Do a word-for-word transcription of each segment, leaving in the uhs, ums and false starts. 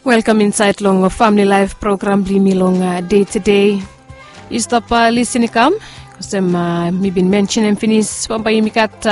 Welkam insaed long Famili Laef program blong yumi long dei tede. Yu stap lisin i kam, olsem mi bin mensenem finis, bambae yumi gat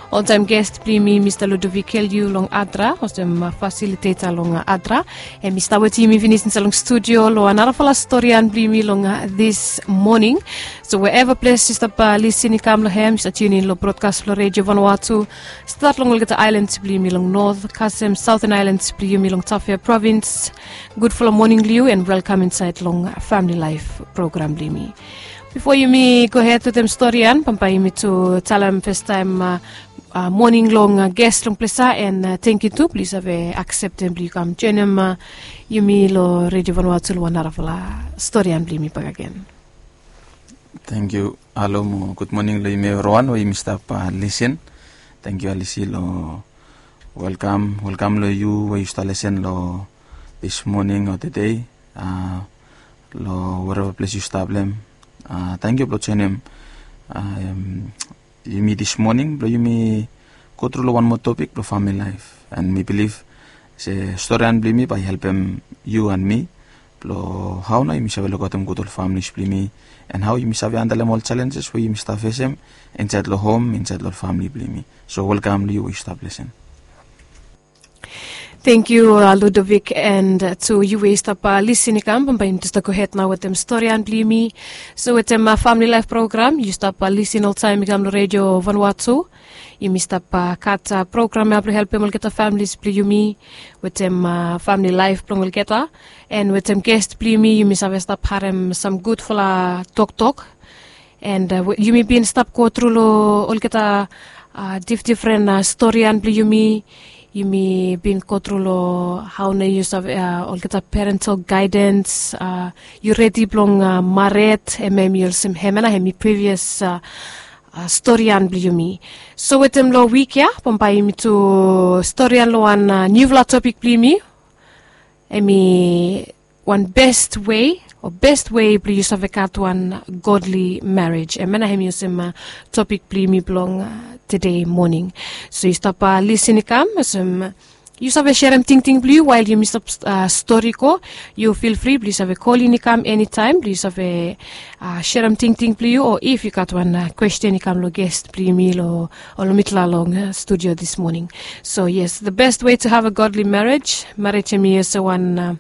oltaem gest blong yumi, Mista Ludovic Kelyu long Adra, olsem fasiliteta long Adra. Hem i stap wetem yumi finis insaed long studio long narafala storian blong yumi long dis moning. So wherever ples yu stap lisin i kam long hem, yu stap tiunin long brodkas blong Redio Vanuatu, stat long olgeta aelans blong yumi long not kasem saoten aelans blong yumi long Tafea provins. Gudfala moning long yu and welkam insaed long Famili Laef program blong yumi. Bifo yumi gohed wetem storian, bambae yumi tu talem fastaem moning long ges long ples ya, and tangkiu tu blong yu save akseptem blong yu kam joenem yumi long Redio Vanuatu long wan narafala storian blong yumi bakegen. Tangkiu. Halo mo gud moning long yumi evriwan we yumi stap lisin. Tangkiu Alisi long welkam, welkam long yu we yu stap lisin long dis moning o tede, long wereva ples yu stap long hem. Tangkiu blong joenem yumi dis moning blong yumi go tru long wan moa topik blong famili laef. And mi bilif se storian blong yumi bae i helpem yu and mi blong hao nao yumi save lukaotem gud ol familis blong yumi, and hao yumi save handlem ol jalenjes we yumi stap fesem insaed long hom, insaed long famili blong yumi. So welkam long yu we yu stap lisin. Tangkiu Ludovic, and tu yu we yu stap lisin i kam, bambae yumi tu stap gohed nao wetem storian blong yumi. So wetem Famili Laef program yu stap lisin oltaem i kam long Redio Vanuatu. Yumi stap gat program ya blong helpem olgeta familis blong yumi wetem famili laef blong olgeta, and wetem ges blong yumi, yumi save stap harem sam gudfala toktok. And yumi bin stap go tru long olgeta difdifren storian blong yumi. Yumi bin go tru long hao nao yu save olgeta parental gaedens, yu redi blong mared, hemia hemi olsem, hemia nao hemi privias storian blong yumi. So wetem long wik ya bambae yumi tu storian long wan niufala topik blong yumi. Hemi wan best wei o best wei blong yu save gat wan godly marriage. Hemia nao hemi olsem topik blong yumi blong tede moning. So yu stap lisin i kam, olsem yu save serem tingting blong yu wael yumi stap stori go. Yu fil fri blong yu save kolin i kam enitaem blong yu save serem tingting blong yu, o if yu gat wan kwesten i kam long ges blong yumi long, o long mitufala long studio dis moning. So yes, the best way to have a godly marriage, marej hemi olsem wan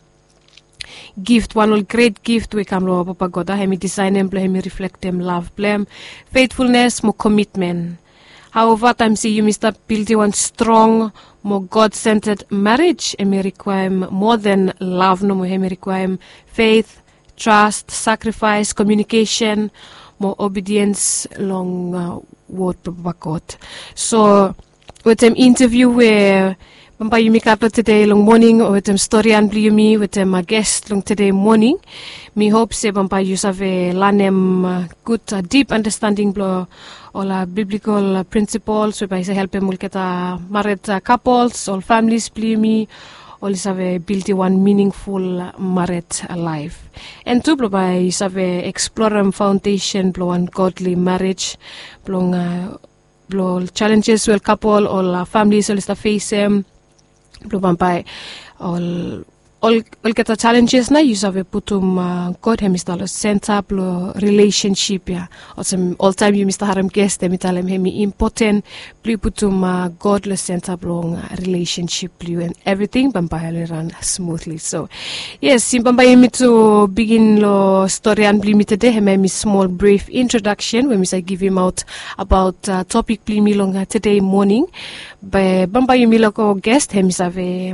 gift, wan ol gret gift we i kam long Papa God. Hemi disaenem blong hemi riflektem lav blong hem, fetfulnes mo komitmen. Haoeva taem se yumi stap bildim wan strong mo God-centered marej, hemi rikwaem moa than lav nomo. Hemi rikwaem feit, tras, sakrifaes, komiunikesen mo obediens long wod blong Papa God. So wetem inteviu we bambae yumi gat long tede long moning, o wetem storian blong yumi wetem ges long tede moning, mi hop se bambae yu save lanem gud dip andastanding blong ol biblikol prinsipols we bae i save helpem olgeta mared kapols, ol familis blong yumi, oli save bildim wan miningful mared laef. And tu blong bae yu save eksplorem faondesen blong wan godly marej, blong blong ol jalenjes we ol kapol, ol familis oli stap fesem. Blong bambae ol, olgeta jalenjes nao yu save putum God hemi stap long senta blong rilesensip ya. Olsem oltaem yumi stap harem ges hemi talem hemi impoten blong yu putum God long senta blong rilesensip blong yu, and evriting bambae oli ran smutli. So yes, bambae yumi tu bigin long storian blong yumi tede, hemia hemi smol brif introdaksen we mi save givimaot abaot topik blong yumi long tede moning. Be bambae yumi lego ges hemi save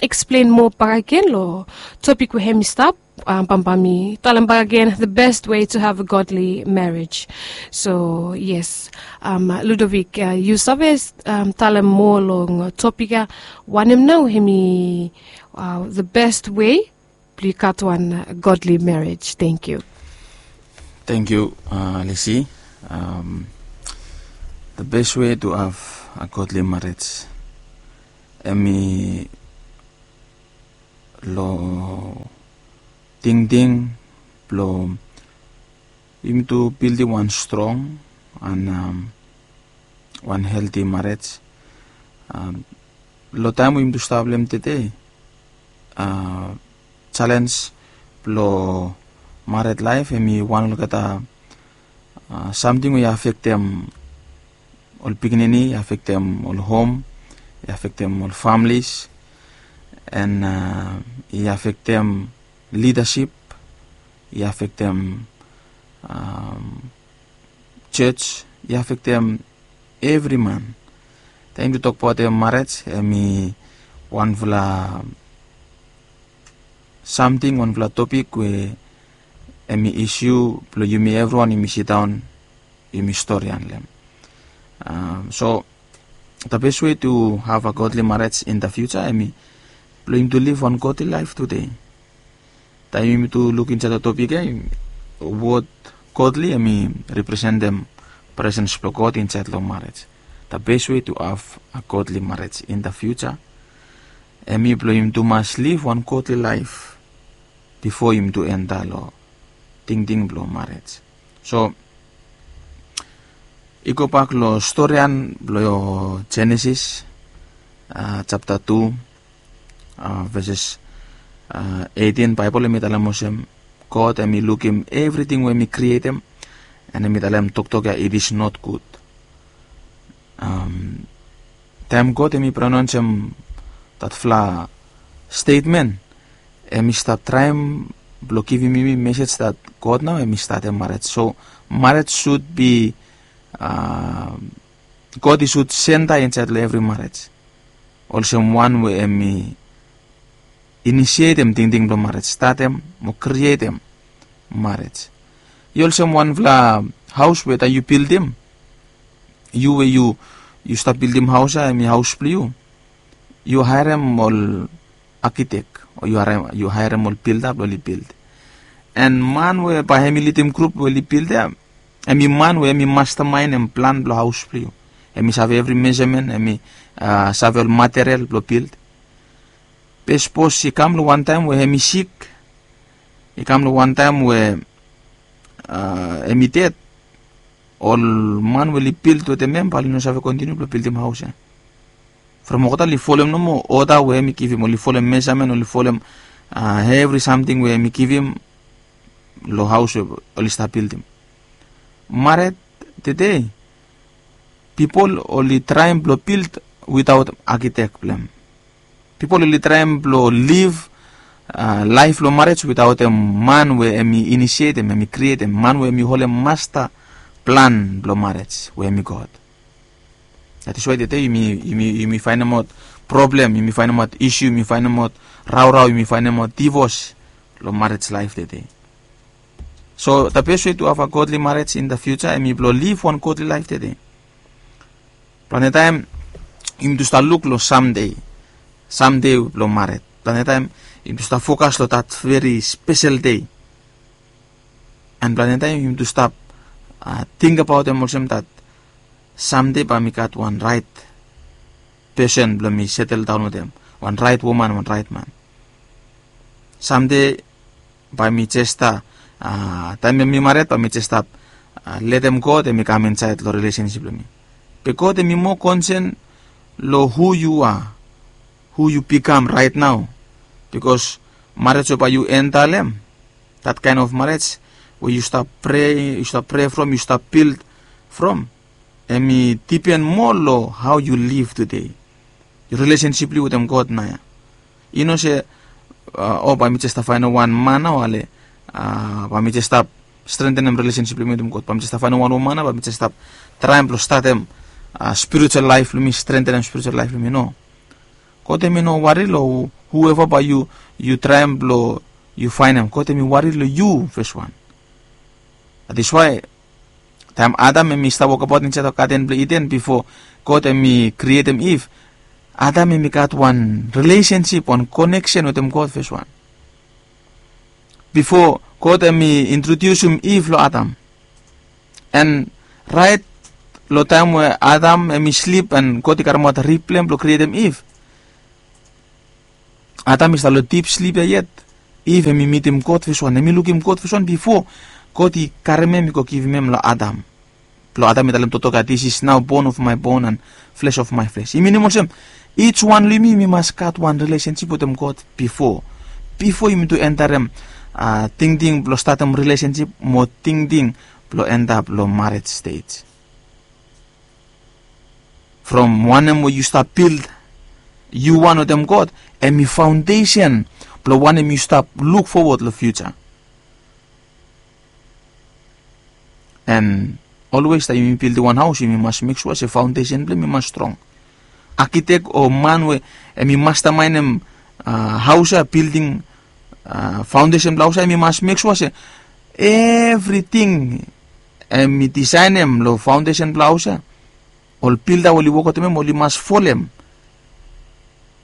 eksplen moa bakegen long topik we hemi stap. Bambae mi talem bakegen, the best way to have a godly marriage. So yes, Ludovic, yu save talem moa long topik ya, wanem nao hemi the best way blong yu gat wan godly marej? Tangkiu. Tangkiu Alisi. The best way to have a godly marej, hemi long tingting blong yumi tu bildim wan strong and wan helti marej. Long taem we yumi tu stap long hem tede, uh, challenge blong married life, hemi wan olgeta uh, samting we i afektem ol pikinini, i afektem ol hom, i afektem ol families, and uh, i afektem leadership, i afektem um, church, i afektem evri man. Taem yumi tok abaot marriage, hemi wanfala samting, wanfala topik we hemi issue blong yumi evriwan yumi sidaon yumi storian long hem. Um, so the best way to have a godly marriage in the future, hemi blong yumi tu live wan godly life today. Taem yumi tu luk insaed long topik ia, wod godly hemi representem presens blong God insaed long marriage. The best way to have a godly marriage in the future, hemi blong yumi tu mas live wan godly life bifo yumi tu enta long tingting blong marriage. So i gobak long storian blong Genesis, uh, chapter two, uh, verses uh, eighteen, Baebol hemi talem olsem, God hemi lukim evriting we hemi krietem, and hemi talem toktok ia, it is not good. Um, taem God hemi pronaonsem datfala statement, hemi stap traem blong givim yumi mesej dat God nao hemi statem marriage. So marriage should be, uh, God i sud senta insaed long evri marriage olsem wan we hemi inisietem tingting blong marriage, statem mo krietem marriage. I olsem wanfala haos we taem yu bildim, yu we yu yu stap bildim haos ia, hemi haos blong yu, yu haerem ol arkitek o yu haerem ol bilda blong oli bild. And man we bae hemi lidim grup we oli bild ia, hemi man we hemi mastamaenem plan blong haos blong yu. Hemi save evri mesamen, hemi uh, save ol material blong bild. Be sapos i kam long wan taem we hemi sik, i kam long wan taem we uh, hemi ded, ol man we oli bild wetem hem bae oli no save kontiniu blong bildim haos ia. From olgeta oli folem nomo oda we hemi givim, oli folem mesamen, oli folem uh, evri samting we hemi givim long haos we oli stap bildim. Married tede, pipol oli traem blong bild witaot arkitek blong hem. Pipol oli traem blong liv uh, laef blong marriage witaotem man we hemi inisietem, hemi krietem, man we hemi holem masta plan blong marriage we hemi God. That is why tede yumi, yumi, yumi faenemaot problem, yumi faenemaot issue, yumi faenemaot raorao, yumi faenemaot divos long marriage life tede. So the best way to have a godly marriage in the future, hemi blong liv wan godly life tede. Plante taem yumi tu stap luk long samdei, samdei blong married. Plante taem yumi tu stap fokas long that very special day. And plante taem yumi tu stap uh, tingbaot hem olsem that samdei bae mi gat wan raet pesen blong mi seteldaon wetem, wan raet woman, wan raet man. Samdei bae mi jes stap, uh, taem mi married bae mi jes stap uh, letem God hemi kam insaed long relationship blong mi. Be God hemi moa concern long who you are, who you become right now. Because marriage we bae yu enta long hem, that kind of marriage we yu stap prea, yu stap prea from, yu stap bild from, hemi dipen moa long how yu liv tede. Yu relationship blong yu wetem God nao ia. I no se uh, o bae mi jes stap faenem wan man nao ale uh, bae mi jes stap strentenem relationship blong mi wetem God. Bae mi jes stap faenem wan woman nao bae mi jes stap traem blong statem uh, spiritual life blong mi, strentenem spiritual life blong mi, no. God hemi no wari long whoever bae yu, yu traem blong yu faenem. God hemi wari long yu fes wan. That is why taem Adam hemi stap wokbaot insaed long gaden blong Iden bifo God hemi krietem Iv, Adam hemi gat wan relationship, wan connection wetem God fes wan. Bifo God hemi introdiusim Iv long Adam. And raet long taem we Adam hemi slip and God i karemaot rib blong hem blong krietem Iv, Adam i stap long dip slip ia yet. Iv hemi mitim God fes wan, hemi lukim God fes wan bifo God i karem hem i go givim hem long Adam. Blong Adam i talem toktok ia, this is now bone of my bone and flesh of my flesh. I minim olsem Ij wan long yumi, yumi mas gat wan rilesensip wetem God bifo. Bifo yumi tu entarem tingting blong statem rilesensip mo tingting blong entap long marej stej. From wanem we yu stap bild yu wan wetem God, em i faondesen blong wanem yu stap luk fowod long fiuja. En olwes taem yumi bildim wan haos, yumi mas mek sua se faondesen blong hem i mas strong. Akitek o man we em i mastamaenem haos ya, bildim faondesen blong haos ya, em i mas mek sua se evriting em i disaenem long faondesen blong haos ya, ol bilda we oli wok wetem hem oli mas folem.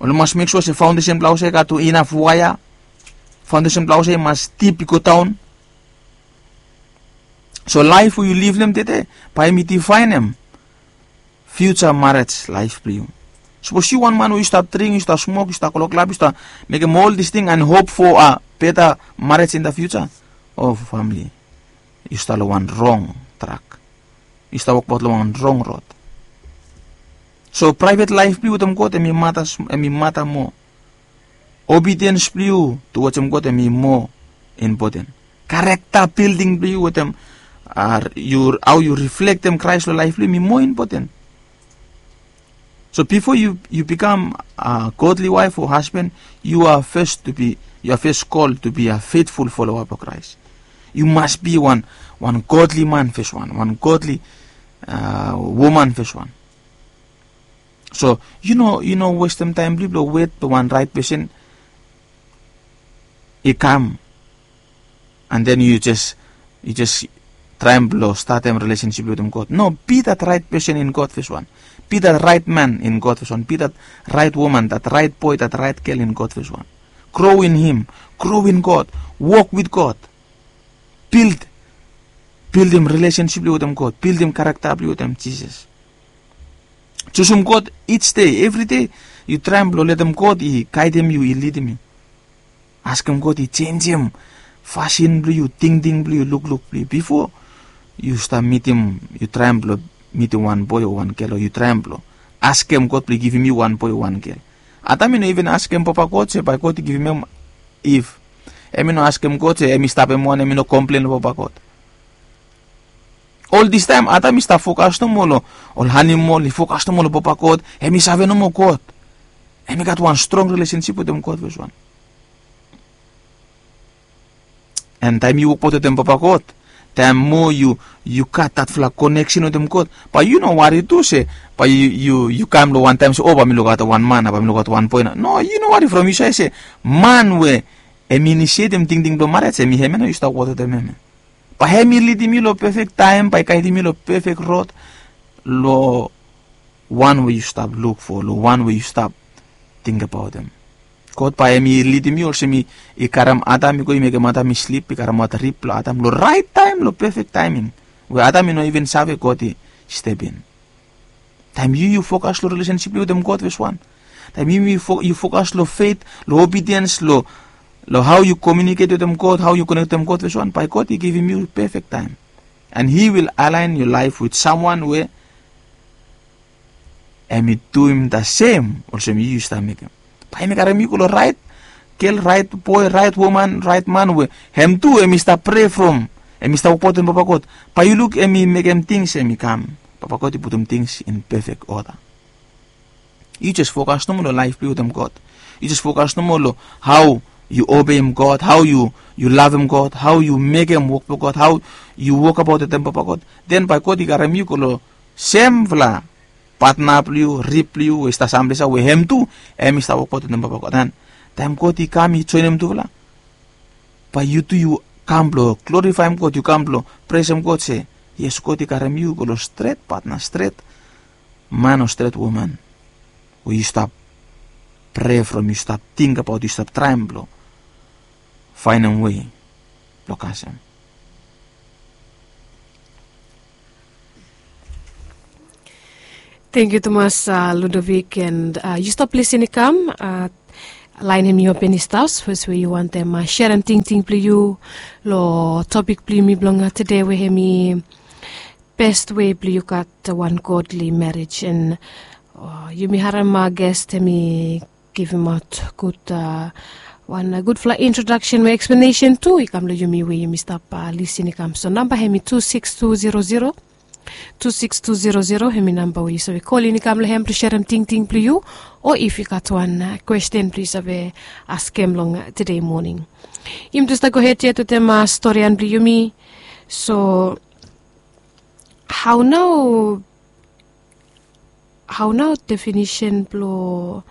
Oli mas mek sua se faondesen blong haos ya i gat inaf waea. Faondesen blong haos ya i mas dip i go daon. So laef we yu liv long hem tede, bae hem i difaenem fiuja marej laef blong yu. Sapos yu wan man we yu stap dring, yu stap smok, yu stap koloklap, yu stap mekem ol dis ting and hop fo a beta marej in da fiuja, o famle, yu stap long wan rong trak. Yu stap wokbaot long wan rong rod. So praevet laef blong yu wetem God em i mata moa. Obediens blong yu tuwajem God em i moa impoten. Karekta bilding blong yu wetem hao yu riflektem Kraes long laef blong yu em i moa impoten. So bifo yu bikam a godli waef o hasban, yu a fes kol tu bi a fetful foloa blong Kraes. Yu mas bi wan godli man fes wan, wan godli woman fes wan. So yu no westem taem blong yu blong wet blong wan raet pesen i kam, and then yu jes traem blong statem rilesensip wetem God. No, bi dat raet pesen in God fes wan. Bi dat raet man in God fes wan. Bi dat raet woman, dat raet boe, dat raet gel in God fes wan. Grow in him. Grow in God. Wok wit God. Bild bildim rilesensip blong yu wetem God, bildim karakta blong yu wetem Jisas. Jusum God ij dei, evri dei. Yu traem blong letem God i gaedem yu, i lidim yu. Askem God i jenjem fasin blong yu, tingting blong yu, lukluk blong yu. Bifo yu stap mitim, yu traem blong mitim wan boe o wan gel, o yu traem blong askem God blong i givim yu wan boe o wan gel. Adam i no iven askem Papa God se bae God i givim hem Iv. Hem i no askem God se hem i stapem wan, hem i no komplen long Papa God. Ol distaem Adam i stap fokas nomo long ol animol, i fokas nomo long Papa God. Hem i save nomo God. Hem i gat wan strong rilesensip wetem God fes wan. An taem yu wokbaot wetem Papa God, taem moa yu gat datfala koneksen wetem God, bae yu no wari tu se bae yu kam long wan taem se, o, bae mi lukaotem wan man nao, bae mi lukaotem wan boe nao. No, yu no wari from yu save se man we hem i inisietem tingting blong marej, hem i hem ya nao yu stap wokbaot wetem hem ya. Bae hem i lidim yu long pefek taem, bae i gaedim yu long pefek rod, long wan we yu stap luk fo, long wan we yu stap tingbaot hem. God bae hem i lidim yu olsem i karem Adam i go, i mekem Adam i slip, i karemaot rib blong Adam long raet taem, long pefek taeming we Adam i no iven save God i step in. Taem yu yu fokas long rilesensip blong yu wetem God fes wan, taem yu yu fokas long fet, long obediens, long hao yu komiuniket wetem God, hao yu konek wetem God fes wan, bae God i givim yu pefek taem. An hi wil alaen yu laef wit samwan we hem i duim da sem olsem yu yu stap mekem. Bae hem i karem yu go long raet gel, raet boe, raet woman, raet man we hem tu hem i stap prea from, hem i stap wokbaot wetem Papa God. Bae yu luk hem i mekem tings hem i kam, Papa God i putum tings in pefek oda. Yu jes fokas nomo long laef blong yu wetem God. Yu jes fokas nomo long hao yu obeim God, hao yu lavem God, hao yu mekem wok blong God, hao yu wokabaot wetem Papa God. Den bae God i karem yu go long semfala patna blong yu, rib blong yu we i stap samples ya we hem tu hem i stap wokbaot wetem Papa God. An taem God i kam i joenem tufala, bae yu tu yu kam blong glorifaem God, yu kam blong presem God se yes, God i karem yu go long stret patna, stret man o stret woman we yu stap prea from, yu stap tingbaot, yu stap traem blong faenem wei blong kasem. Tangkiu tumas Ludovic, an yu stap lisin i kam, laen hem i open i stap, sapos we yu wantem serem tingting blong yu long topik blong yumi blong tede we hem i best wei blong yu gat wan godli marej. An Yumi harim ges hemi givimaot gud, wan gudfala introdaksen we eksplanesen tu i kam long yumi we yumi stap lisin i kam. So namba hemi tu siks tu zero zero, tu siks tu zero zero hemi namba we yu save kolin i kam long hem blong serem tingting blong yu, o if yu gat wan kwesten blong yu save askem long tede moning. Yumi tu stap gohed yet wetem storian blong yumi. So hao nao hao nao definisen blong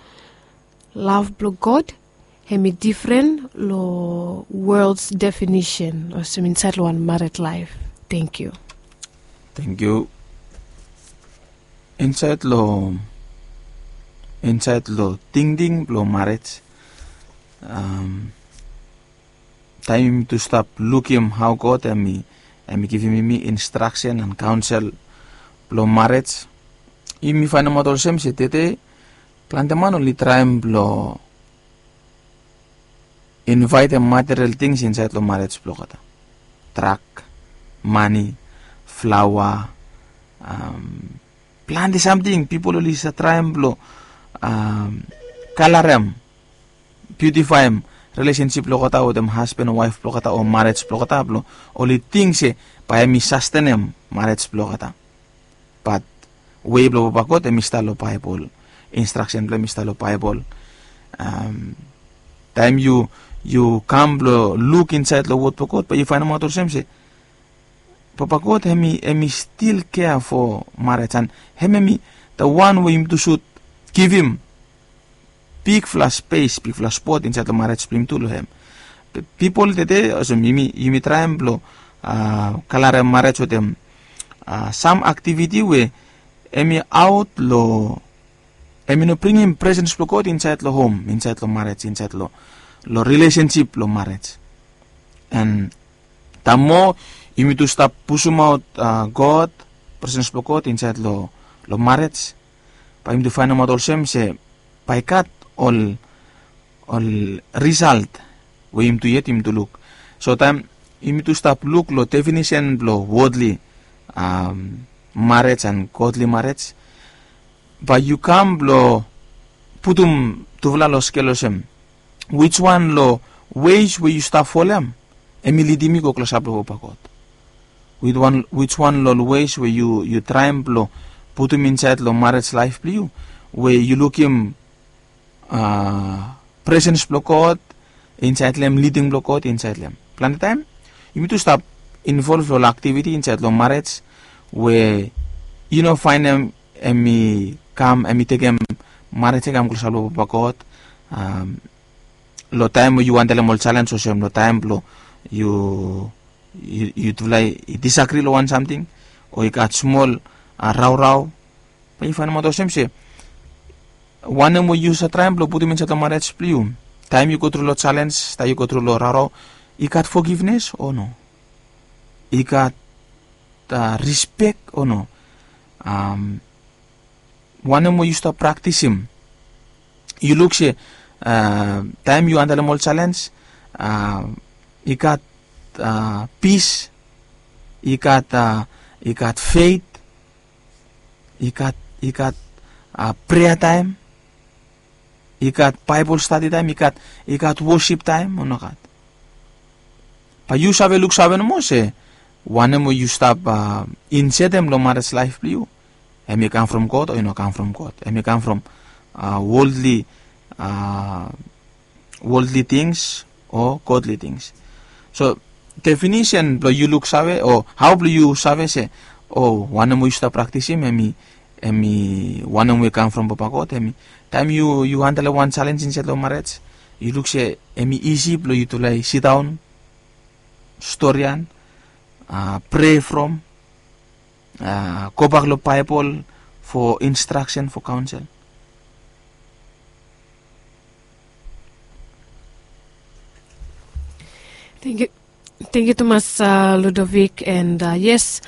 lav blong god hemi difren long wols definisen olsem insaed long wan mared laef? Tenkyu. Tenkyu. Insaed long insaed long tingting blong mared, taem yumi tu stap lukim hao god hemi givim yumi instraksen an kaonsel blong mared, yumi faenemaot olsem se tede plante man oli traem blong invaetem material tings insaed long mared blong olgeta. Drak, mane, flaoa, plante samting pipol oli save traem blong kalarem, biutifaem rilesensip blong olgeta wetem hasban o waef blong olgeta o marej blong olgeta blong oli ting se bae hemi sastenem marej blong olgeta. Bat wei blong papa god hemi stap long baebol, instraksen blong hem i stap long baebol. Taem yu kam blong luk insaed long wod blong god bae yu faenemaot olsem se papa god hemi stil kea fo marej an hem hemi da wan we yumi tu sud givim bigfala spes bigfala spot insaed long marej blong yumi tu long hem. Pipol tede olsem yumi traem blong kalarem marej wetem sam aktiviti we hemi aot long hemi no bringim presens blong god insaed long hom, insaed long marej, insaed long rilesensip blong marej. An da moa yumi tu stap pusumaot god, presens blong god insaed long marej, bae yumi tu faenemaot olsem se bae i gat ol ol risalt we yumi tu yet yumi tu luk. So taem yumi tu stap luk long definisen blong wodli marej an godli marej, bae yu kam blong putum tufala long skel olsem, wiswan long wes we yu stap folem hemi lidim yu go klosap long papa god? Wiswan long wes we yu traem blong putum insaed long marej laef blong yu we yu lukim presens blong god insaed long hem, liding blong god insaed long hem? Plante taem yumi tu stap involv long ol aktiviti insaed long marej we yu no faenem hemi kam hemi tekem marej i kam klosap long papa god. Long taem we yu wantalem ol selens olsem long taem blong yu yutufala i disagri long wan samting o i gat smol raorao, bae yu faenemaot olsem se wanem we yu save traem blong putum insaed long marej blong yu, taem yu go tru long selens, taem yu go tru long raorao, i gat fogivnes o no? I gat rispek o no? Wanem we yu stap praktisim? Yu luk se taem yu handlem ol selens, i gat pis, i gat i gat fet, i gat i gat prea taem, i gat baebol stadi taem, i gat i gat wosip taem o nogat? Bae yu save luksave nomo se wanem we yu stap insetem long marej laef blong yu, em i kam from god o i no kam from god? Em i kam from woldli woldli tings o godli tings? So definisen blong yu luksave o hao blong yu save se o wanem we yu stap praktisim em i em i wanem we i kam from papa god, em i taem yu yu handlem wan selens insaed long marej, yu luk se em i isi blong yutufala i sidaon, storian, prea from, gobak long baebol fo instraksen, fo kaonsel. Tengkiu tumas, ludovik, and yes,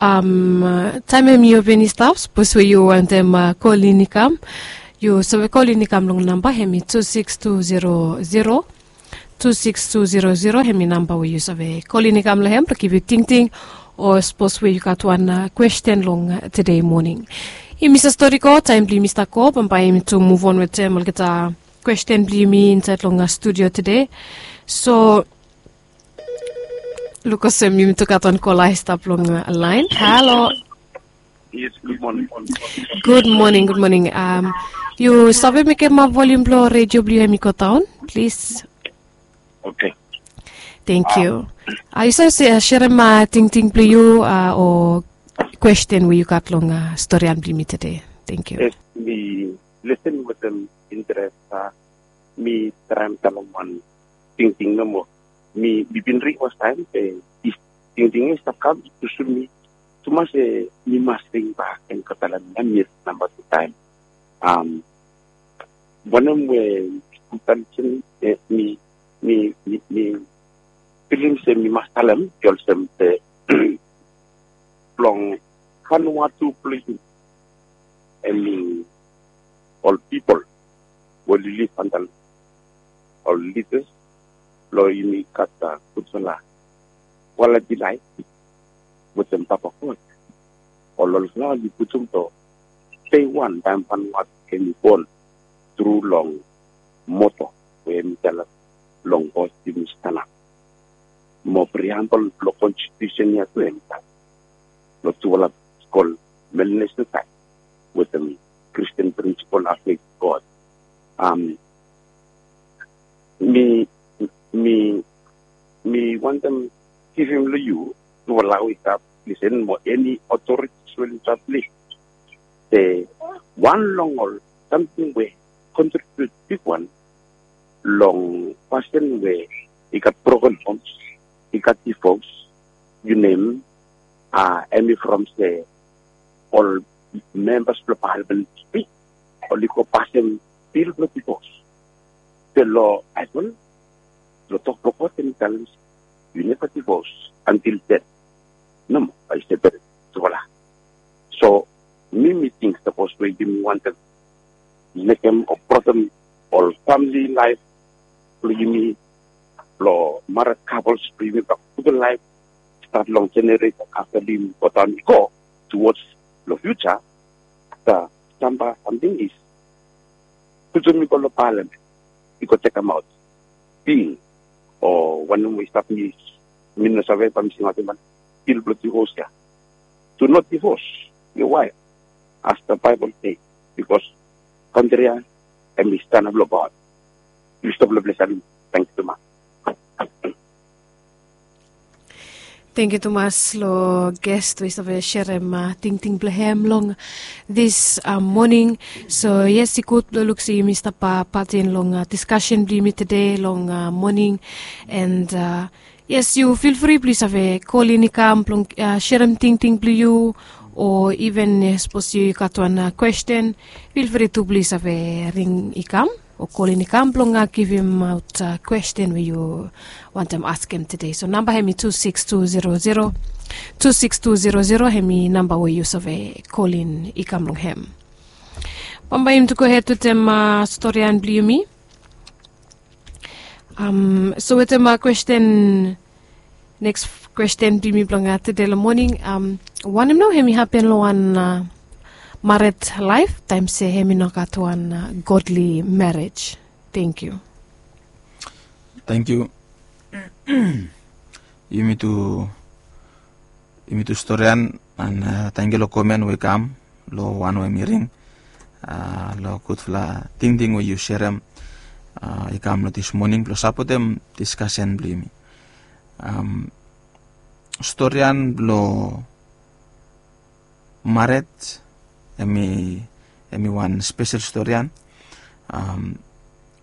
taem em yu bin i stap, sapos we yu wantem kolin i kam, yu save kolin i kam long namba em i tu siks tu zero zero, tu siks tu zero zero, em i namba we yu save kolin i kam long em blong givim tingting o sapos we yu gat wan kwesten long tede moning. Yumi save stori go, taem blong yumi stap go, bambae yumi tu muvon wetem olgeta kwesten blong yumi insaed long studio tede. So luk olsem yumi tu gat wan kola i stap long laen. Halo. Gud moning, gud moning. Yu save mekem volium blong redio blong yu hem i go daon, plis? Oke. Tangkiu. Yu save serem tingting blong yu o kwesten we yu gat long storian blong yumi tede? Tangkiu. Yes, mi lisen wetem interes. Mi traem talem wan tingting nomo. Mi bin ring fastaem be tingting ya i stap kam tu sum mi tumas se mi mas ring bak en go talem ya mi namba tu taem. Wanem we mi mi mi mi mi filim se mi mas talem i olsem se blong Vanuatu blong yu hemi ol pipol we oli lif antap long ol lidas blong yumi gat gudfala kwaliti laef wetem Papa God. Ol olfala oli putum long dei wan taem Vanuatu hemi bon tru long moto we hemi talem long God yumi stanap. Mo priambol blong konstitusen ya tu hemi talem long tufala skul, Melanesian saed wetem Kristin prinsipol, afet God. Mi mi mi wantem givim long yu tufala we i stap lisen mo eni otoritis we oli stap lisen se wan long ol samting we kontribiut bigwan long pasin we i gat broken homes, i gat divos, yu nem, hemi from se ol membas blong palamen oli go pasem bil blong divos. Be long Baebol, long tok blong God hemi talem se yu neva divos antil det. Nomo, bae yu separet tufala. So mi mi ting sapos we yumi wantem mekem o brotem ol famili laef blong yumi, blong mared kapols blong yumi blong gudfala laef stat long jeneresen afta blong yumi godaon i go tuwods long fiuja. Afta stamba samting i putum i go long palamen i go tekemaot bil o wanem we i stap, mi mi no save bae mi singaotem wan bil blong divos ya. Do not divos your wife as the Bible says, because kantri ya hemi stanap long God. Yu stap long ples ya. Tangkiu tumas. Tangkiu tumas long ges we i save serem tingting blong hem long dis moning. So yes, i gud blong luk se yumi stap patin long diskasen blong yumi tede long moning. And yes, yu filfri blong yu save kolin i kam blong serem tingting blong yu, o iven sapos yu gat wan kwesten, filfri tu blong yu save ring i kam o kolin i kam blong givimaot kwesten we yu wantem askem tede. So namba hemi tu sikis tu zero zero, tu sikis tu zero zero hemi namba we yu save kolin i kam long hem. Bambae yumi tu gohed wetem storian blong yumi. So wetem kwesten, neks kwesten blong yumi blong tede long moning, wanem nao hemi hapen long wan mared laef taem se hemi no gat wan godli marej? Tangkiu. Tangkiu. Yumi tu yumi tu storian, and tangkiu long komen we i kam long wan we mi ring long gudfala tingting we yu serem i kam long dis moning blong sapotem diskasen blong yumi. Storian blong mared hemi hemi wan spesel storian.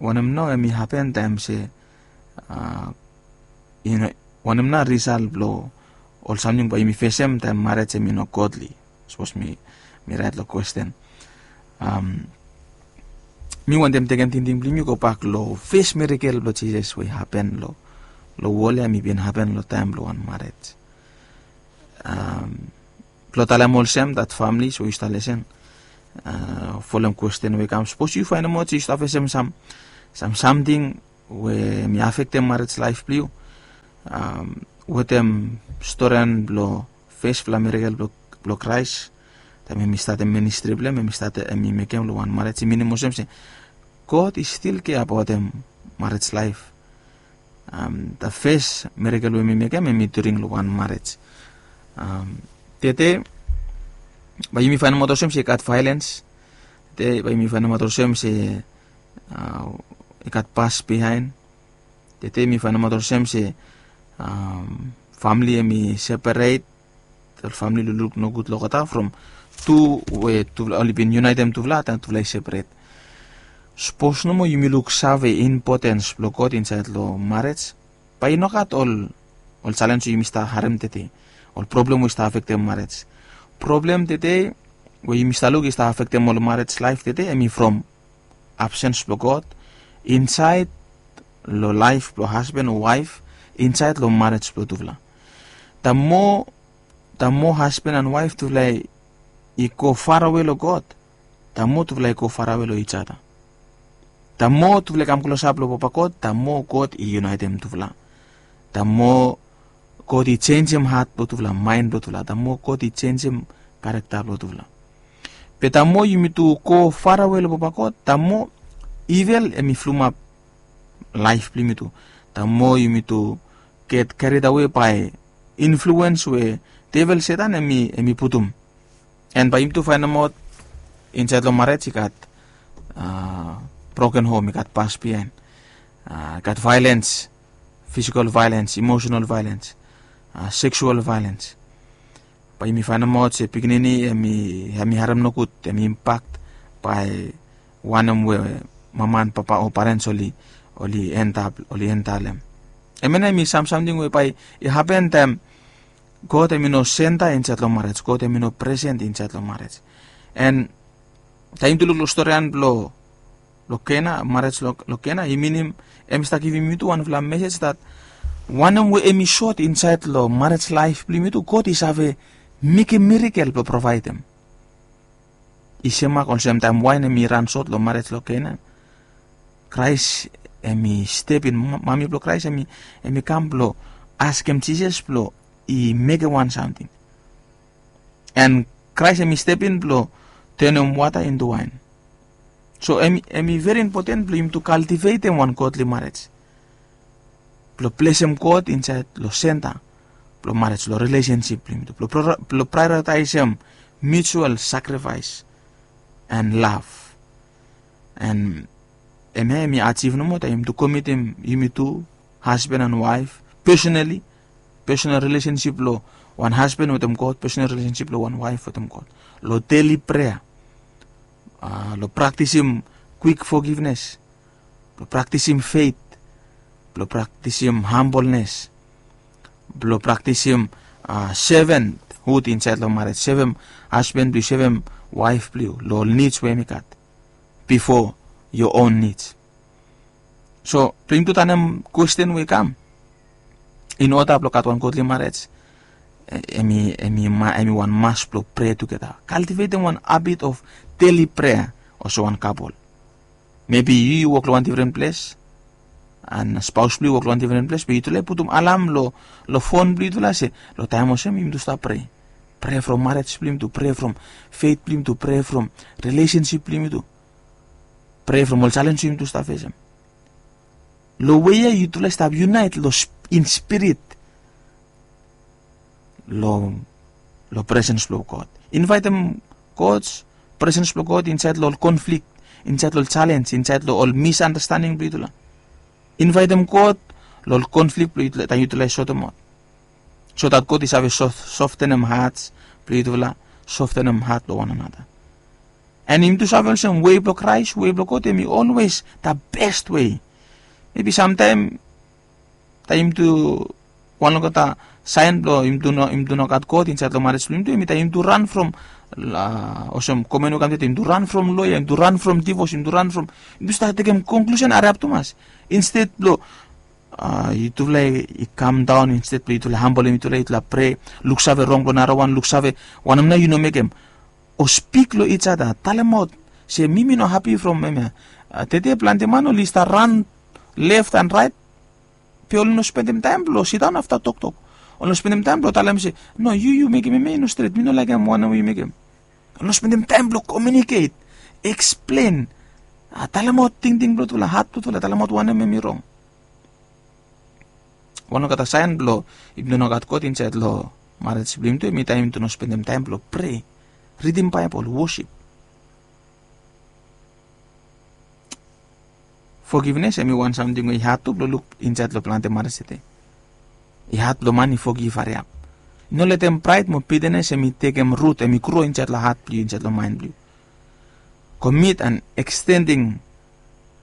Wanem nao hemi hapen taem se yu no, wanem nao risal blong ol samting bae yumi fesem taem marej hemi no godli? Sapos mi mi raet long kwesten. Mi wantem tekem tingting blong yumi gobak long fes mirakel blong Jisas we i hapen long wol ya, hemi bin hapen long taem blong wan marej. Blong talem olsem dat famili we yu stap lisen, folem kwesten we i kam, sapos yu faenemaot se yu stap fesem sam sam samting we hemi afektem marej laef blong yu, wetem storian blong fesfala mirakel blong Kraes Taem em i statem ministri blong em em i statem em i mekem long wan marej i minim olsem se God i stil kea abaotem marej laef. Am, da fes mirakel we mi mekem em i during long wan marej. Am, tete bae yumi faenemaot olsem se i gat vaelens. Tete bae yumi faenemaot olsem se a, i gat pas bihaen. Tete mi faenemaot olsem se am, famili em i seperet. Ol famili lukluk nogud long olgeta from tu we tufala oli bin yunaetem tufala taem tufala i seperet. Sapos nomo yumi luksave impotens blong God insaed long marej, bae i nogat ol ol jalens we yumi stap harem tete, ol problem we i stap afektem marej. Problem tete we yumi stap luk i stap afektem ol marej laef tete em i from absens blong God insaed long laef blong hasban o waef, insaed long marej blong tufala. Da moa da moa hasban an waef tufala i go farawe long God, da moa tufala i go farawe long ijada. Da moa tufala i kam klosap long Papa God, da moa God i yunaetem tufala. Da moa God i jenjem hat blong tufala, maen blong tufala, da moa God i jenjem karekta blong tufala. Be da moa yumi tu go farawe long Papa God, da moa ivel em i flumap laef blong yumi tu. Da moa yumi tu get keridawe bae influens we devel Setan em i putum. An bae yumi tu faenemaot insaed long marej i gat a broken hom, i gat pas bihaen, a i gat vaelens, fisikol vaelens, imosenal vaelens, a seksual vaelens. Bae yumi faenemaot se pikinini em i harem nogud, em i impakt bae wanem we mama an papa o parens oli oli endap oli endalem. Em ya nao em i sam samting we bae i hapen taem God em i no senta insaed long marej, God em i no presen insaed long marej. An taem yumi tu luk long storian blong long Kena, marej long Kena i minim em i stap givim yumi tu wanfala mesej dat wanem we em i sot insaed long marej laef blong yumi tu, God i save mekem mirakel blong provaedem. I semak olsem taem waen em i ran sot long marej long Kena, Kraes em i step in, mami blong Kraes em i kam blong askem Jisas blong i mekem wan samting. An Kraes em i step in blong tenem wata intu waen. So em i veri impoten blong yumi tu kaltivetem wan godli marej, blong blesem God insaed long senta blong marej, long rilesensip blong yumi tu, blong praeoritaesem mutual sakrifaes an lav. An em ya em i ajiv nomo taem yumi tu komitem yumi tu hasban an waef, pesonali, pesonal rilesensip blong wan hasban wetem God, pesonal rilesensip blong wan waef wetem God, long deli prea, long praktisim kwik fogivnes, blong praktisim fet, blong praktisim hambolnes, blong praktisim sevenhud insaed long marej, sevem hasban blong yu, sevem waef blong yu long ol nids we em i gat bifo yo on nids. So blong yumi tu tanem kwesten we i kam, in oda blong gat wan godli marej, em i wan mas blong prea tugeta, kaltivetem wan habit of deli prea. Olsem wan kapol, mebi yu yu wok long wan difren ples, an spaos blong yu wok long wan difren ples, be yutufala i putum alam long fon blong yutufala se long taem olsem yumi tu stap prea. Prea from marej blong yumi tu, prea from fet blong yumi tu, prea from rilesensip blong yumi tu, prea from ol jalenj we yumi tu stap fesem. Long wei ya yutufala i stap yunaet long in spirit long presens blong God. Invaetem God, presens blong God insaed long ol konflik, insaed long ol jalenj, insaed long ol misandastanding blong yutufala. Invaetem God long ol konflik blong yutufala taem yutufala i sotem aot, so dat God i save softenem hats blong yutufala, softenem hat blong wan anata. An yumi tu save olsem wei blong Kraes, wei blong God em i olwes da bes wei. Mebi samtaem taem yumi tu, wan long olgeta saen blong yumi tu no gat God insaed long marej blong yumi tu em i taem yumi tu ran from, olsem komen we kam tede, yumi tu ran from loea, yumi tu ran from divos, yumi tu ran from, yumi tu stap tekem konklusen hariap tumas. Insted blong yutufala i kam daon, insted blong yutufala hambolem yutufala, yutufala prea, luksave rong blong narawan, luksave wanem nao yu no mekem, o spik long ijada, talemaot se mi mi no hapi from hemia. Tede plante man oli stap ran left an raet, be oli no spendem taem blong sidaon afta toktok. Oli no spendem taem blong talem se, no, yu yu mekem hemia i no stret, mi no laekem wanem we yu mekem. Oli no spendem taem blong komiuniket, eksplen, talemaot tingting blong tufala, hat blong tufala, talemaot wanem em i rong. Wan olgeta saen blong yumi tu no gat God insaed long marej blong yumi tu, em i taem yumi tu no spendem taem blong prea, ridim Baebol, wosip. Fogivnes em i wan samting we i had tu blong luk insaed long plante marej tede. I had blong man i fogiv hariap. I no letem praed mo bitenes em i tekem rut, em i gro insaed long hat blong yu, insaed long maen blong yu. Komit an ekstending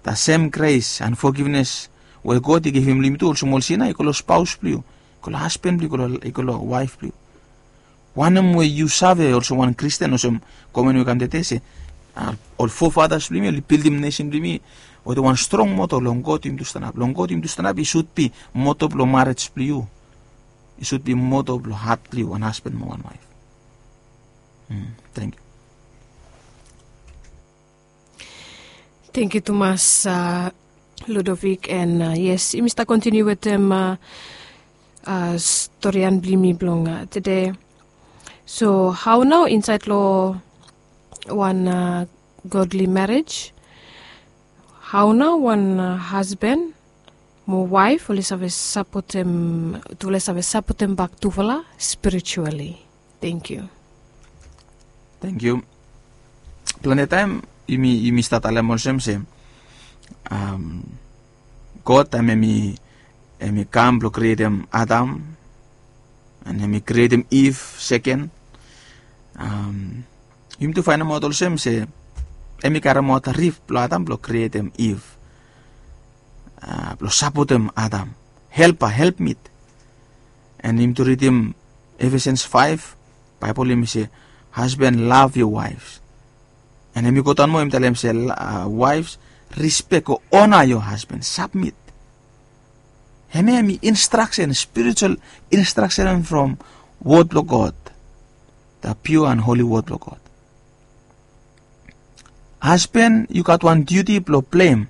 the same grace and forgiveness we God i givim long yumi tu, olsem ol sina i go long spaos blong yu, i go long hasban blong yu, i go long waef blong yu. Wanem we yu save olsem wan Kristin, olsem komen we i kam tede se, ol fofadas blong yumi oli bildim nesen blong yumi wetem wan strong moto, long God yumi tu stanap. Long God yumi tu stanap i sud bi moto blong marej blong yu, i sud bi moto blong hat blong yu, wan hasban mo wan waef. Tangkiu. Tangkiu tumas, Ludovic, and yes, yumi stap kontiniu wetem storian blong yumi blong tede. So hao nao insaed long wan godly marriage, hao nao wan hasban mo waef oli save sapotem, tufala i save sapotem bak tufala spiritually? Tangkiu. Tangkiu. Plante taem yumi, yumi stap talem olsem se God taem em i, em i kam blong krietem Adam, an em i krietem Iv seken. Yumi tu faenemaot olsem se em i karemaot rif blong Adam blong krietem Iv, blong sapotem Adam, helpa, helpmit. An yumi tu ridim Ephesians faef, Baebol i se, "Husband, love your wives." An em i godaon moa, em i talem se, "Wives, respect o ona your husband, submit." Hemia em i instraksen, spiritual instraksen from wod blong God, the pure and holy word blong God. Hasban, yu gat wan diuti blong pleim,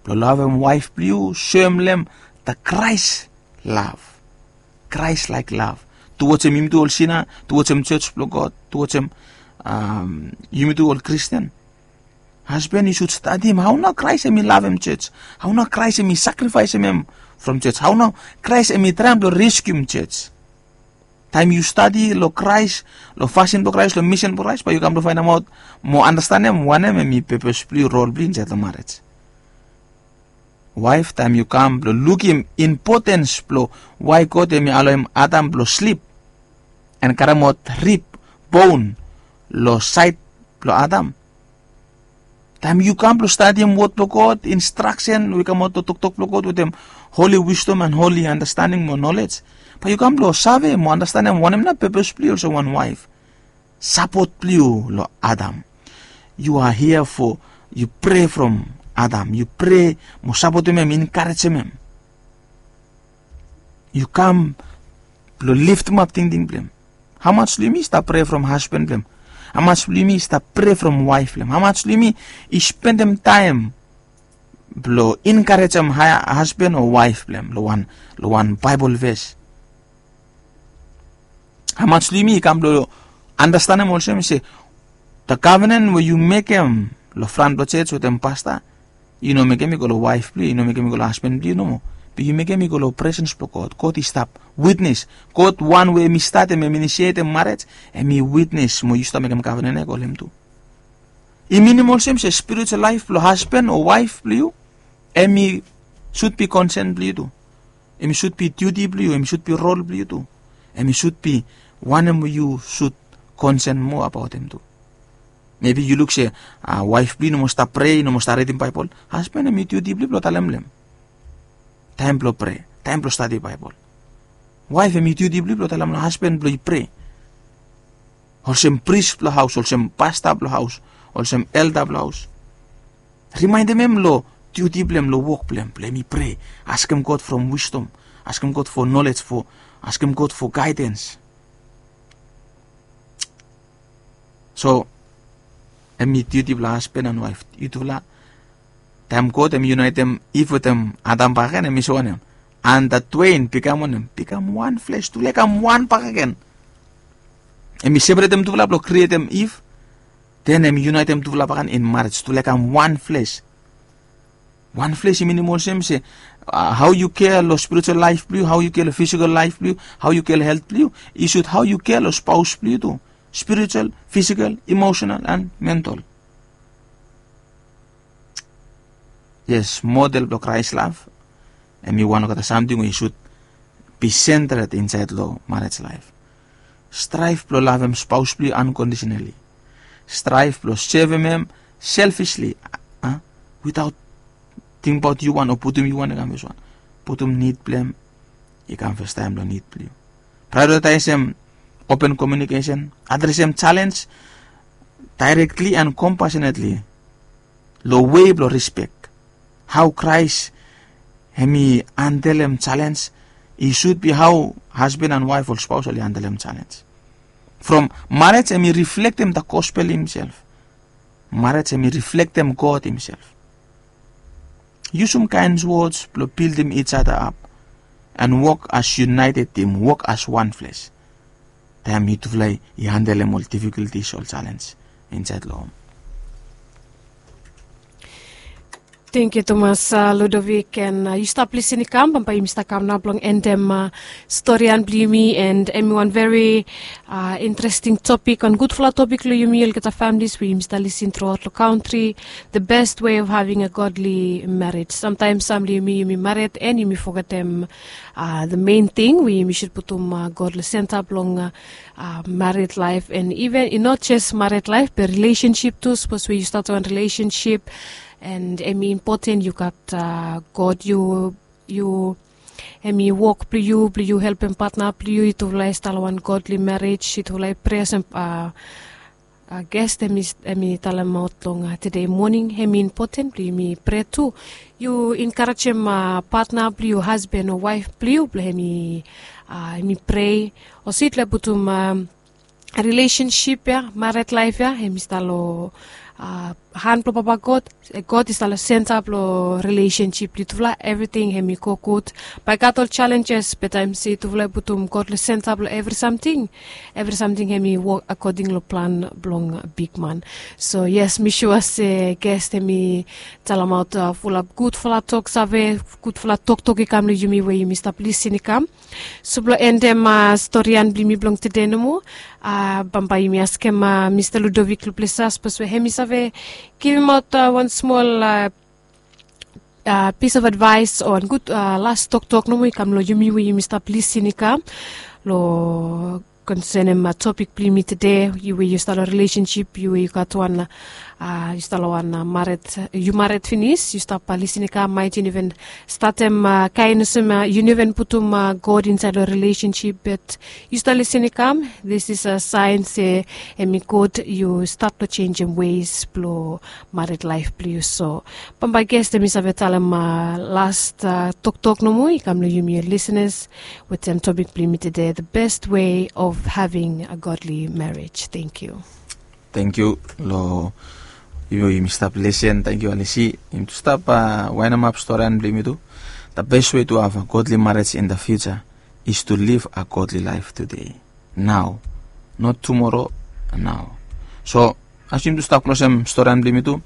blong lavem waef blong yu, soem long hem the Christ love, Christ like love, tuwajem yumi tu ol sina, tuwajem jos blong God, tuwajem yumi tu ol Kristin. Hasban, yu sud stadim hao nao Kraes em i lavem jos, hao nao Kraes em i sakrifaesem hem from jos, hao nao Kraes em i traem blong reskium jos. Taem yu stadi long Kraes, long fasin blong Kraes, long misen blong Kraes, bae yu kam blong faenemaot mo andastanem wanem em i pepes blong yu, rol blong yu insaed long marej. Waef, taem yu kam blong lukim impotens blong wae God em i aloem Adam blong slip an karemaot rib, bon, long saed blong Adam, taem yu kam blong stadim wod blong God, instraksen we i kamaot long toktok blong God wetem holi wisdom an holi andastanding mo nolej, bae yu kam blong save mo andastanem wanem nao pepes blong yu olsem wan waef. Sapot blong yu long Adam. Yu are here for, yu prea from Adam, yu prea mo sapotem hem, enkarejem hem. Yu kam blong liftemap tingting blong hem. Hamaj blong yumi i stap prea from hasban blong hem? Hamaj blong yumi i stap prea from waef blong hem? Hamaj blong yumi i spendem taem blong enkarejem hasban o waef blong hem long wan, long wan Baebol ves? Hamaj long yumi i kam blong andastanem olsem se the covenant we yu mekem long fran blong jos wetem pasta, yu no mekem i go long waef blong yu, yu no mekem i go long hasban blong yu nomo, be yu mekem i go long presens blong God. God i stap witnes. God wan we hem i statem, hem i inisietem marej, hem i witnes mo yu stap mekem covenant ya, go long hem tu. I minim olsem se spiritual laef blong hasban o waef blong yu, hem i sud bi konsen blong yu tu. Hem i sud bi diuti blong yu, hem i sud bi rol blong yu tu. Hem i sud bi wanem we yu sud konsen moa abaot hem tu. Mebi yu luk se waef blong yu i no moa stap prea, i no moa stap ridim Baebol. Hasban, hem i diuti blong yu blong talem long hem taem blong prea, taem blong stadi Baebol. Waef, hem i diuti blong yu blong talem long hasban blong yu i prea. Olsem pris blong haos, olsem pasta blong haos, olsem elda blong haos, rimaendem hem long diuti blong hem, long wok blong hem, blong hem i prea, askem God from wisdom, askem God for nolej, for, askem God for gaedens. So hem i diuti blong hasban an waef, yutufala. Taem God hem i yunaetem Iv wetem Adam bakegen, hem i se wanem? And the twain become wanem? Become one flesh. Tufala i kam wan bakegen. Hem i separetem tufala blong krietem Iv. Den em i yunaetem tufala bakan in marej, tufala i kam wan fles. Wan fles i minim olsem se, hau yu kea long spiritual laef blong yu, hau yu kea long fisikal laef blong yu, hau yu kea long helt blong yu, i sud hau yu kea long spaos blong yu tu, spiritual, fisikal, emosenal and mental. Yes, model blong Kraes lav em i wan olgeta samting we i sud bi sentred insaed long marej laef. Straef blong lavem spaos blong yu ankondisenali. Straef blong sevem hem selfisli, witaot tingbaot yu wan o putum yu wan i kam fes wan. Putum nid blong hem i kam festaem long nid blong yu. Praeoritaesem open komiunikesen, adresem jalenj daerektli and kompasenetli, long wei blong rispek. Hau Kraes hem i handelem jalenj, i sud bi hau hasban and waef ol spaos oli handelem jalenj. From marej hem i riflektem da gospel himself. Marej hem i riflektem God himself. Yusum kaen wods blong bildim ijada ap, and wok as yunaeted tim, wok as wan fles. Taem yutufala i handelem ol difikultis, ol jalenj insaed long hom. Tengkiu tumas, Ludovik, and yu stap lisin i kam, bambae yumi stap kam nao blong endem storian blong yumi, and em i wan veri interesting topik, wan gudfala topik long yumi olgeta familis we yumi stap lisin truaot long kantri. The best way of having a godly marriage. Samtaem sam long yumi, yumi mared and yumi fogetem the main ting we yumi sud putum God long senta blong mared laef, and iven i not jes mared laef be rilesensip tu. Sapos we yu stat wan rilesensip, and em i impoten yu gat God, yu, yu, em i wok blong yu blong yu helpem patna blong yu, yutufala i stap long wan godly marriage, yutufala i prea olsem ges hem i talemaot long tede moning, hem i impoten blong yumi prea tu. Yu enkarejem patna blong yu, hasban o waef blong yu, blong hem i prea. Olsem yutufala i putum rilesensip ya, mared laef ya, hem i stap long han blong Papa God. God i stap long senta blong rilesensip blong yutufala, evriting hem i go gud. Bae i gat ol jalenjes, be taem se yutufala i putum God long senta blong evri samting, evri samting hem i wok akoding long plan blong bigman. So yes, mi sua se ges hem i talemaot fulap gudfala toksave, gudfala toktok i kam long yumi we yumi stap lisin i kam. So blong endem storian blong yumi blong tede nomo, bambae yumi askem Mista Ludovik Luplesa, sapos we hem i save givimaot wan smol pis of advaes o wan gud las toktok nomo i kam long yumi we yumi stap lisin i kam long konsenem topik blong yumi tede. Yu we yu stap long rilesensip, yu we yu gat wan, yu stap long wan mared, yu mared finis, yu stap lisin i kam, maet yu no even statem kaen olsem yu no even putum God insaed long rilesensip, be yu stap lisin i kam, this is a saen se hem i gud yu stat long jenjem weis blong mared laef blong yu. So bambae ges hem i save talem las toktok nomo i kam long yumi ol lisenas wetem topik blong yumi tede, the best way of having a godly marriage. Tengkiu. Tengkiu long yumi, yumi stap lisin. Tengkiu Alisi. Yumi tu stap waenemap storian blong yumi tu. The best way to have a godly marriage in the future is to live a godly life today. Nao, not tumoro, nao. So as yumi tu stap klosem storian blong yumi tu,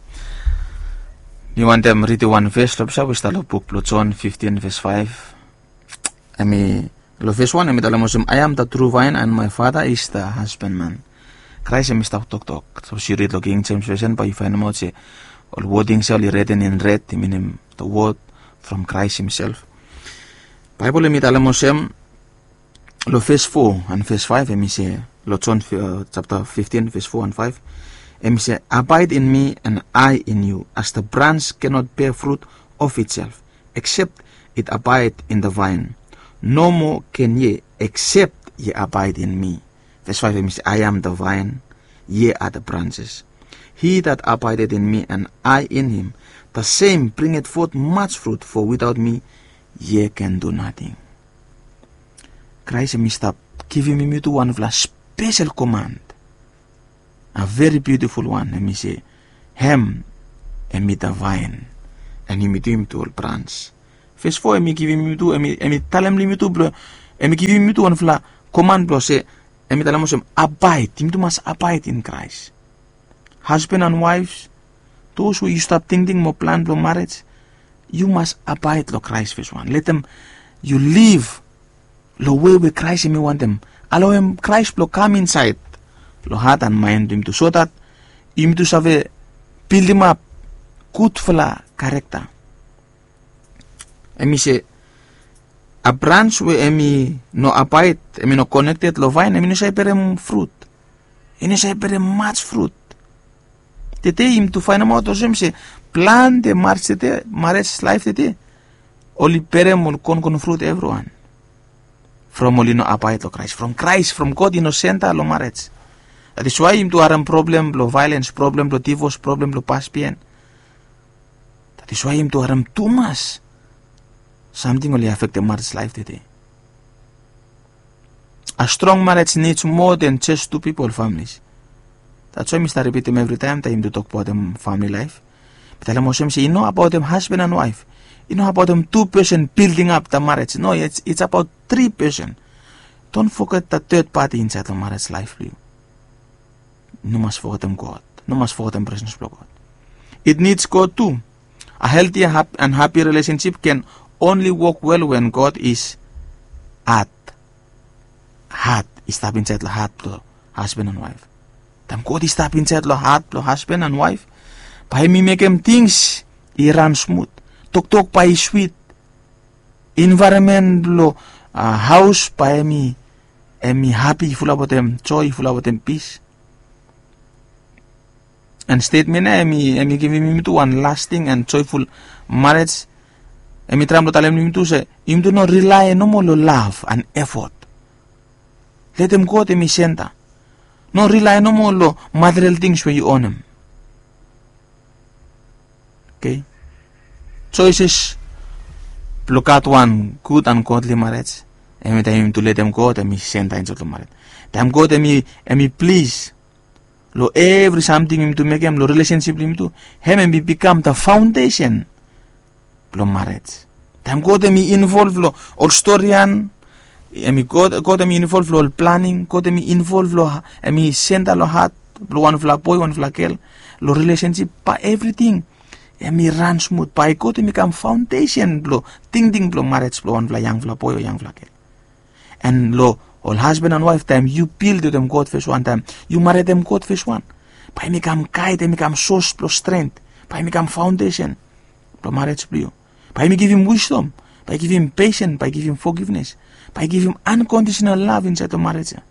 mi wantem ridim wan ves long pesa we i stap long buk blong Jon fiftin ves faef. Hem i, long ves wan hem i talem olsem, I am the true vine and my Father is the husbandman. Kraes hem i stap toktok. Sapos yu rid long King James Version bae yu faenemaot se ol wodings ya oli reten in red i minim the word from Kraes himself. Baebol hem i talem olsem, long ves fo and ves faef hem i se, long Jon japta fiftin ves fo and faef, hem i se, Abide in me and I in you, as the branch cannot bear fruit of itself except it abide in the vine, nor more can ye except ye abide in me. Ves faef hem i se, I am the vine, ye are the branches. He that abideth in me and I in him, the same bringeth forth much fruit, for without me ye can do nothing. Kraes hem i stap givim yumi tu wanfala spesel koman, a very beautiful one. Hem i se, hem hem i the vine, and yumi tu yumi tu ol brans. Ves fo hem i givim yumi tu, hem i talem long yumi tu blong, hem i givim yumi tu wanfala koman blong se, hem i talem olsem, abide, yumi tu mas abide in Kraes. Hasban an waef, dos we yu stap tingting mo plan blong marej, yu mas abaed long Kraes fes wan. Letem yu liv long wei we Kraes hem i wantem. Alaoem Kraes blong kam insaed long hat an maen blong yumi tu, so dat yumi tu save bildimap gudfala karekta. Hem i se, a brans we hem i no abaed, hem i no konekted long vaen, hem i no save berem frut. I no save berem maj frut. Tede yumi tu faenemaot olsem se plante marej tede, marej laef tede, oli berem ol kongon frut evriwan from oli no abaed long Kraes, from Kraes, from God i no senta long marej. That is why yumi tu harem problem blong vaelens, problem blong divos, problem blong pasbihen. That is why yumi tu harem tumas samting oli afektem marej laef tede. A strong marej nids moa den jes tu pipol, familis. That's why mi stap ripitim evritaem taem yumi tu tokbaotem famili laef. Mi talem olsem se i no abaotem hasban an waef. I no abaotem tu pesen bilding ap da marej. No, it's, it's about tri pesen. Don't forget da third party insaed long marej laef blong yu. No mas fogetem God. No mas fogetem presens blong God. It needs God tu. A healthy and happy relationship can only work well when God is at hat i stap insaed long hat blong hasban an waef. Taem God i stap insaed long hat blong hasban an waef, bae hem i mekem tings i ran smut. Toktok bae i swit. Envaeronmen blong haos bae hem i, hem i hapi, i fulap wetem joe, i fulap wetem pis. An stetmen ya hem i, hem i givim yumi tu wan lasting an joeful marej. Hem i traem blong talem yumi tu se yumi tu no rilae nomo long lav an efot. Letem God hem i senta. No rilae nomo long material tings we yu onem. Oke. Joeses blong gat wan gud an godli marej, hem i taem yumi tu letem God hem i senta insaed long marej. Taem God hem i, hem i plis long evri samting yumi tu mekem, long rilesensip blong yumi tu, hem hem i bikam da faondesen blong marej. Taem God hem i involv long ol storian, hem i God, God hem i involv long ol planing, God hem i involv long, hem i senta long hat blong wanfala boe, wanfala gel, long rilesensip, bae evriting hem i ran smut, bae God hem i kam faondesen blong tingting blong marej blong wanfala yangfala boe o yangfala gel. An long ol hasban an waef, taem yu bil wetem God fes wan, taem yu maretem God fes wan, bae hem i kam gaed, hem i kam sos blong stren, bae hem i kam faondesen blong marej blong yu. Bae hem i givim wisdom, bae i givim pesen, bae i givim fogivnes, bae i givim ankondisenal lav insaed long marej ya.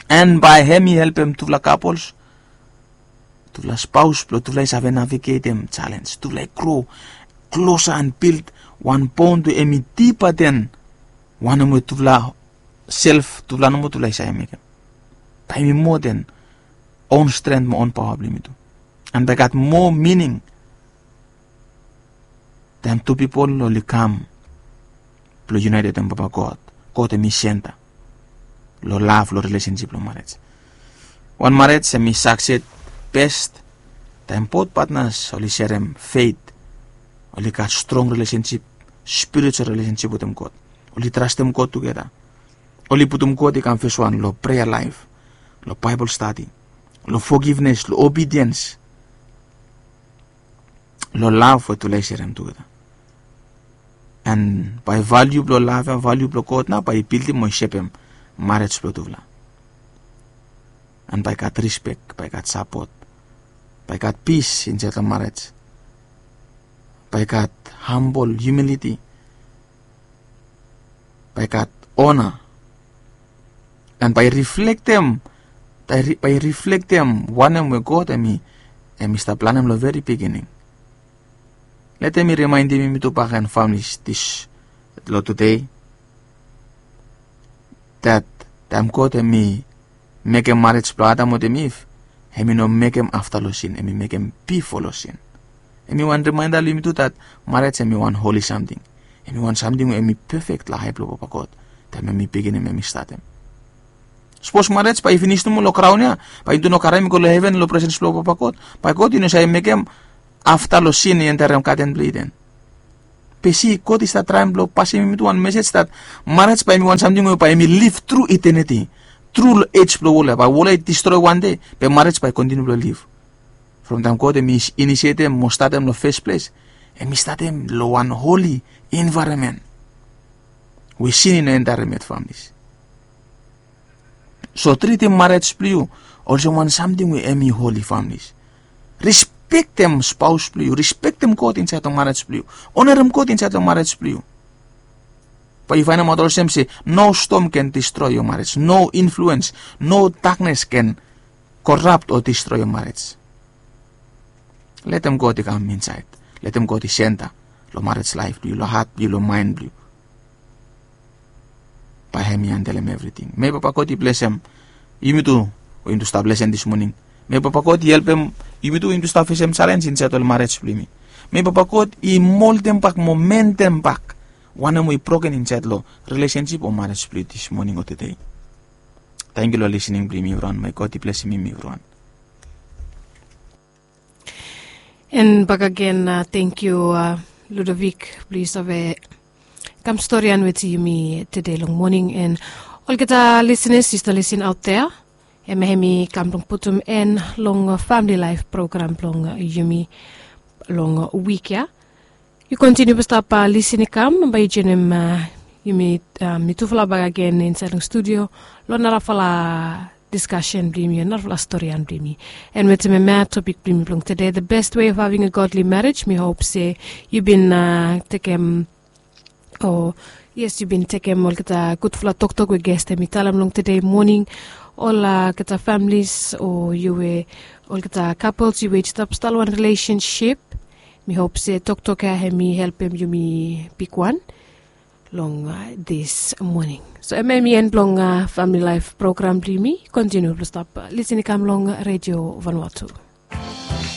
An bae hem i helpem tufala kapols, tufala spaos blong tufala i save navigetem jalenj, tufala i gro klosa an bild wan bond we hem i dipa den wanem we tufala self, tufala nomo tufala i save mekem. Bae hem i moa den own strength mo own paoa blong yumi tu. An bae gat moa mining taem tu pipol oli kam blong yunaeted wetem Papa God. God hem i senta long lav, long rilesensip, long marej. Wan marej hem i sakses bes taem both patnas oli serem fet, oli gat strong rilesensip, spiritual rilesensip wetem God. Oli trastem God tugeta. Oli putum God i kam fes wan long prea laef, long Baebol stadi, long fogivnes, long obediens, long lav we tufala i serem tugeta. An bae valiu blong lav ya, valiu blong God nao bae i bildim mo i sepem marej blong tufala. An bae gat rispek, bae gat sapot, bae gat pis insaed long marej, bae gat hambol, humiliti, bae gat ona. An bae i riflektem, bae i riflektem wanem we God hem i, hem i stap planem long veri bigining. Letem mi rimaendim yumi tu bakegen, familis, dis long tede, dat taem God hem i mekem marej blong Adam wetem Iv, hem i no mekem afta long sin, hem i mekem bifo long sin. Hem i wan rimaenda long yumi tu dat marej hem i wan holi samting. Hem i wan samting we hem i pefek long ae blong Papa God taem hem i biginim, hem i statem. Sapos marej bae i finis nomo long graon ya, bae yumi tu no karem i go long heven, long presens blong Papa God, bae God i no save mekem afta long sin i enterem Gaden blong Iden. Be si, God i stap traem blong pasem yumi tu wan mesej dat marej bae hem i wan samting we bae hem i liv tru iteniti. tru long ej blong wol ya, bae wol ya i distroi wan dei, be marej bae i kontiniu blong liv. From taem God hem i inisietem mo statem long fes ples, hem i statem long wan holi envaeronmen we sin i no entaerem yet, familis. So tritim marej blong yu olsem wan samting we hem i holi, familis. Rispektem spaos blong yu, rispektem God insaed long marej blong yu, onerem God insaed long marej blong yu. Bae yu faenemaot olsem se no stom ken distroi yo marej, no influens, no daknes ken korap o distroi yo marej. Letem God i kam insaed, letem God i senta long marej laef blong yu, long hat blong yu, long maen blong yu. Bae hem i handelem evriting. Mei Papa God i blesem yumi tu, we yumi tu stap lesen dis moning. Mei Papa God i helpem yumi tu, we yumi tu stap fesem jalenj insaed long marej blong yumi. Mei Papa God i moldem bak mo mendem bak wanem we i broken insaed long rilesensip o marej blong yu dis moning o tedei. Tangkiu long lisening blong yumi evriwan. Mei God i blesem yumi evriwan. And bakagen, tangkiu, Ludovic, blong yu save kam storian wetem yumi tede long moning. And olgeta lisenas yu stap lisen aot dea, hem hem i kam blong putum en long Famili Laef program blong yumi long wik ya. Yu kontiniu blong stap lisen i kam, bae yu joenem yumi, mi tufala bakagen insaed long studio long narafala diskasen blong yumi, narafala storian blong yumi. And wetem hemia topik blong yumi blong tede, the best way of having a godly marriage. Mi hop se yu bin tekem, o yes, yu bin tekem olgeta gudfala toktok we ges hem i talem long tede moning. Olgeta familis o yu we, olgeta kapels yu we i stap stap long wan rilesensip, mi hop se toktok ya hem i helpem yumi bigwan long dis moning. So hemia hem i en blong Famili Laef program blong yumi. Kontiniu blong stap lisen i kam long Redio Vanuatu.